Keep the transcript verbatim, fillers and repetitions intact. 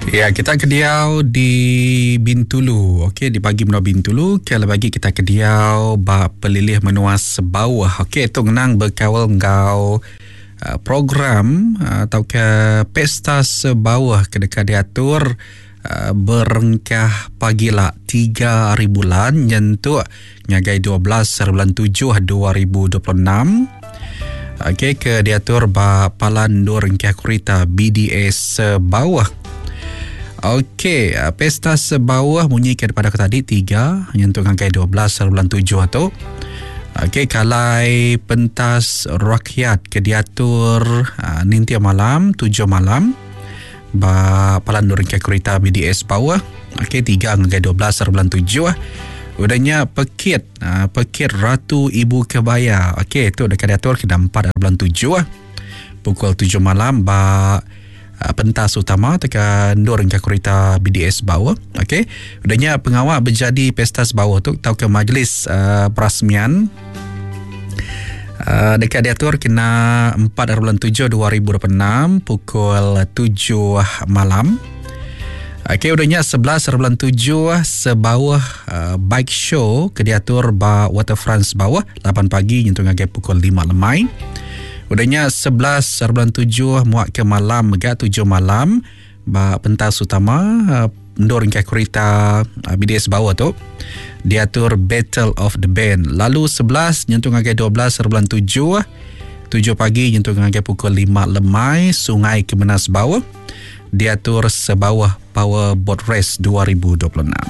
Ya, kita ke diau di Bintulu. Okey, di bagi menua Bintulu, ke bagi kita ke diau ba pelilih menua Sebauh. Okey, tu ngenang bekaul enggau uh, program uh, atau ke pesta Sebauh ke dekat diatur uh, berengkah pagi lah tiga hari bulan nyentuk ngagai dua belas hari bulan tujuh dua ribu dua puluh enam. Okey, ke diatur ba Palan Nur Engkah Kereta B D A Sebauh. Okey, pesta Sebauh bunyi ke daripada aku tadi tiga nyentuk ngagai dua belas hari bulan tujuh tu. Okey, kalai pentas rakyat ke diatur uh, nintia malam tujuh malam ba Palan Nur Engkah Kereta B D A Sebauh. Okey, tiga ngagai dua belas hari bulan tujuh. Udahnya pekit, uh, pekit Ratu Ibu Kebaya. Okey, tu dekat diatur kena empat hari bulan tujuh pukul tujuh malam ba pentas utama tekan Nur Engkah Kereta B D S Bawah. Okey. Udahnya pengawal berjadi pesta Sebauh tu tau ke majlis uh, perasmian uh, dekat diatur kena empat hari bulan tujuh dua ribu dua puluh enam pukul tujuh malam. Okey, udahnya sebelas hari bulan tujuh Sebauh uh, bike show ke diatur ba Waterfront Sebauh lapan pagi nyentuh ngagai pukul lima lemai. Udahnya sebelas hari bulan tujuh muak ke malam mega tujuh malam ba pentas utama uh, ndur engkau kereta uh, B D S bawah tu diatur Battle of the Band. Lalu sebelas nyentuh ngagai dua belas hari bulan tujuh tujuh pagi nyentuh ngagai pukul lima lemai Sungai Kemenas Bawah diatur Sebauh Power Boat Race dua ribu dua puluh enam.